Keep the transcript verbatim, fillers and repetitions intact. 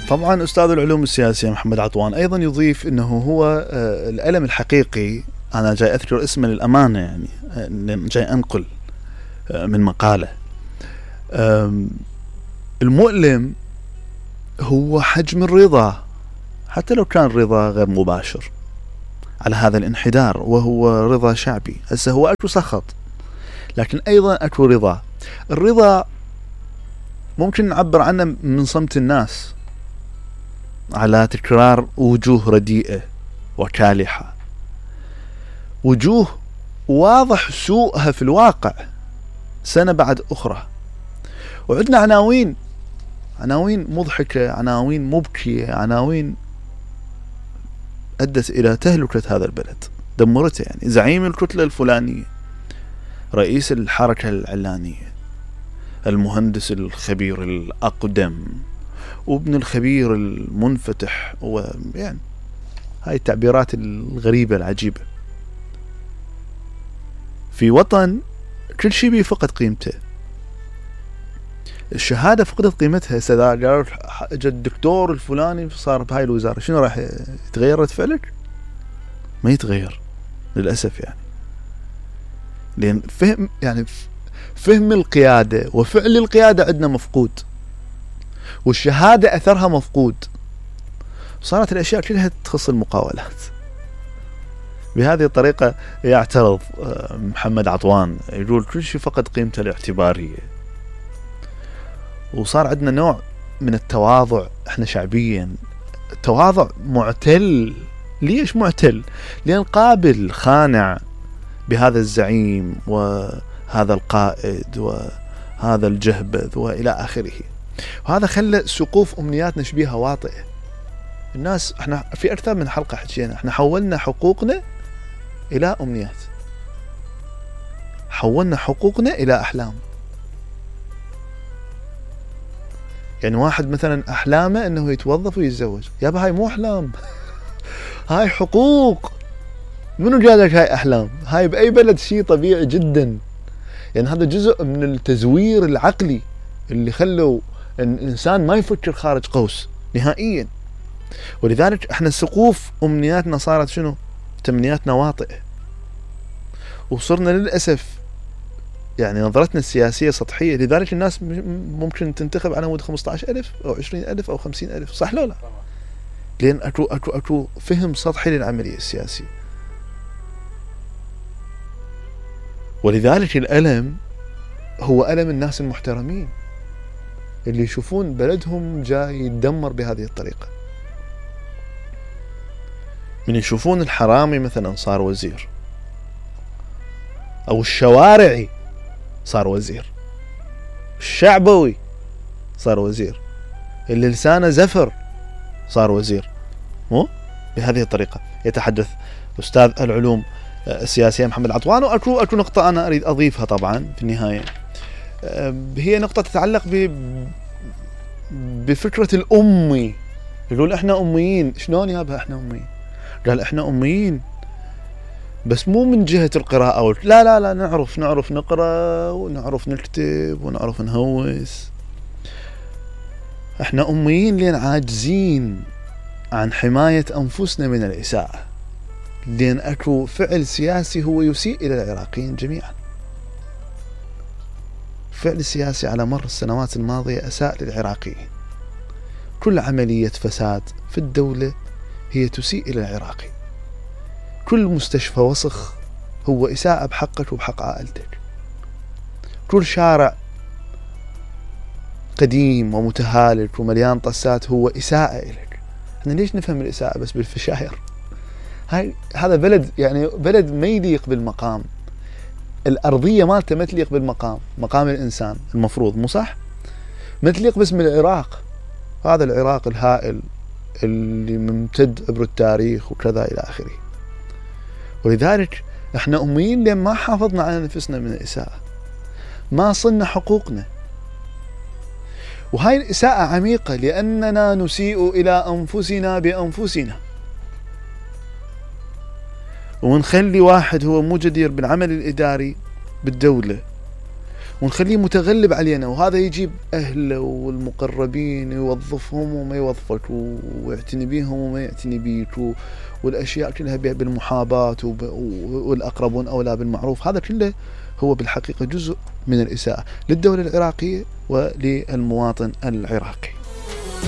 طبعا أستاذ العلوم السياسية محمد عطوان أيضا يضيف أنه هو الألم الحقيقي، أنا جاي أذكر اسمه للأمانة يعني جاي أنقل من مقالة، المؤلم هو حجم الرضا حتى لو كان رضا غير مباشر على هذا الانحدار، وهو رضا شعبي. هسه هو أكو سخط لكن أيضا أكو رضا. الرضا ممكن نعبر عنه من صمت الناس على تكرار وجوه رديئة وكالحة، وجوه واضح سوءها في الواقع سنة بعد أخرى. وعندنا عناوين عناوين مضحكة، عناوين مبكية، عناوين أدت إلى تهلكة هذا البلد، دمرته. يعني زعيم الكتلة الفلانية، رئيس الحركة العلانية، المهندس الخبير الأقدم، وابن الخبير المنفتح، ويعني هاي التعبيرات الغريبة العجيبة في وطن كل شيء بيه فقد قيمته. الشهادة فقدت قيمتها. سدا قالوا الدكتور الفلاني صار بهاي الوزارة، شنو راح يتغير رد فعلك؟ ما يتغير للأسف، يعني لأن فهم يعني فهم القيادة وفعل القيادة عندنا مفقود، والشهادة أثرها مفقود. صارت الأشياء كلها تخص المقاولات. بهذه الطريقة يعترض محمد عطوان، يقول كل شيء فقد قيمته الاعتبارية. وصار عندنا نوع من التواضع احنا شعبيا، تواضع معتل. ليش معتل؟ لأن قابل خانع بهذا الزعيم وهذا القائد وهذا الجهبذ وإلى آخره. وهذا خلى سقوف أمنياتنا شبيهة واطئة. الناس احنا في أكثر من حلقة حكينا، احنا حولنا حقوقنا إلى أمنيات، حولنا حقوقنا إلى أحلام. يعني واحد مثلا أحلامه أنه يتوظف ويتزوج، يابا هاي مو أحلام هاي حقوق. منو قال لك هاي أحلام؟ هاي بأي بلد شيء طبيعي جدا. يعني هذا جزء من التزوير العقلي اللي خلوا الإنسان ما يفكر خارج قوس نهائيا. ولذلك احنا سقوف أمنياتنا صارت شنو؟ تمنياتنا واطئة، وصرنا للأسف يعني نظرتنا السياسية سطحية. لذلك الناس ممكن تنتخب على مود خمسة عشر ألف أو عشرين ألف أو خمسين ألف، صح لو لا؟ لأن أكو, أكو, أكو فهم سطحي للعملية السياسية. ولذلك الألم هو ألم الناس المحترمين اللي يشوفون بلدهم جاي يتدمر بهذه الطريقة، من يشوفون الحرامي مثلا صار وزير، أو الشوارعي صار وزير، الشعبوي صار وزير، اللي لسانه زفر صار وزير. مو بهذه الطريقة يتحدث أستاذ العلوم السياسية محمد عطوان. وأكو أكو نقطة أنا أريد أضيفها طبعا في النهاية، هي نقطة تتعلق ب بفكرة الأمي. يقول إحنا أميين. شلون يابا إحنا أميين؟ قال إحنا أميين بس مو من جهة القراءة، لا لا لا نعرف نعرف نقرأ ونعرف نكتب ونعرف نهوس. إحنا أميين لأن عاجزين عن حماية أنفسنا من الإساءة، لأن أكو فعل سياسي هو يسيء إلى العراقيين جميعا. فعل سياسي على مر السنوات الماضية أساء للعراقيين. كل عملية فساد في الدولة هي تسيء إلى العراقي. كل مستشفى وسخ هو إساءة بحقك وبحق عائلتك. كل شارع قديم ومتهالك ومليان طسات هو إساءة إليك. احنا ليش نفهم الإساءة بس بالفشاير؟ هاي هذا بلد يعني بلد ما يليق بالمقام. الأرضية مالته ما تليق بالمقام، مقام الإنسان المفروض، مو صح؟ ما تليق باسم العراق. هذا العراق الهائل اللي ممتد عبر التاريخ وكذا إلى آخره. ولذلك احنا أميين لأن ما حافظنا على نفسنا من الإساءة، ما صلنا حقوقنا. وهاي الإساءة عميقة لأننا نسيء إلى أنفسنا بأنفسنا، ونخلي واحد هو مو جدير بالعمل الإداري بالدولة، ونخليه متغلب علينا، وهذا يجيب أهله والمقربين يوظفهم وما يوظفك، ويعتني بيهم وما يعتني بيك، والأشياء كلها بالمحاباة، والأقربون أولى بالمعروف. هذا كله هو بالحقيقة جزء من الإساءة للدولة العراقية وللمواطن العراقي.